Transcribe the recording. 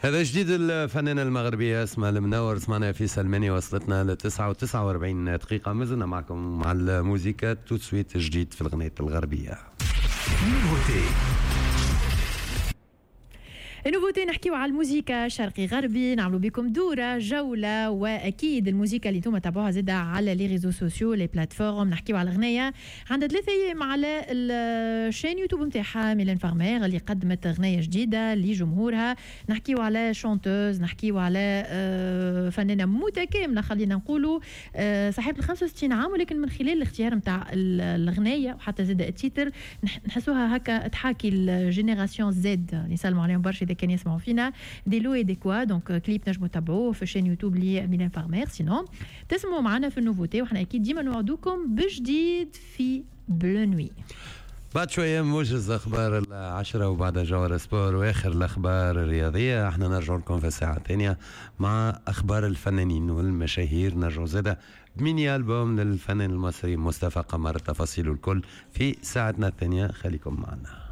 هذا جديد الفنانة المغربية اسماء المنور، سمعنا في سلماني. وصلتنا ل 9 و49 دقيقة، مازلنا معكم مع الموزيكا. tout de suite جديد في الغنية الغربية. nouveauté. nouveauté، نحكيو على الموزيكا شرقي غربي، نعملوا بكم دورة جولة، وأكيد الموزيكا اللي انتم تابعوها زادة على les réseaux sociaux، les plateformes. نحكيو على غنية عندها 3 أيام على ال chaîne YouTube نتاعها، ميلان فارمير اللي قدمت غنية جديدة لجمهورها. نحكيو على chanteuse، نحكيو على فنانة متكاملة خلينا نقولوا، صاحبة ال 65 عام، ولكن من خلال الاختيار نتاع الغنية وحتى زاد ال titre نحسوها هكا تحاكي ال génération Z، نسلموا عليهم برشا اذا كان يسمعوا فينا. des lots et des quoi، donc clip نجموا تتابعوه في chaîne YouTube لميلان فارمير. sinon تسمعوا معنا في ال nouveauté، وحنا اكيد ديما نوعدوكم بجديد في Bleu Nuit. بعد شوية موجز أخبار 10 وبعد جوهر سبور وآخر الأخبار الرياضية. احنا نرجع لكم في الساعة الثانية مع أخبار الفنانين والمشاهير. نرجع زادة ب mini album للفنان المصري مصطفى قمر. تفاصيل الكل في ساعتنا الثانية، خليكم معنا.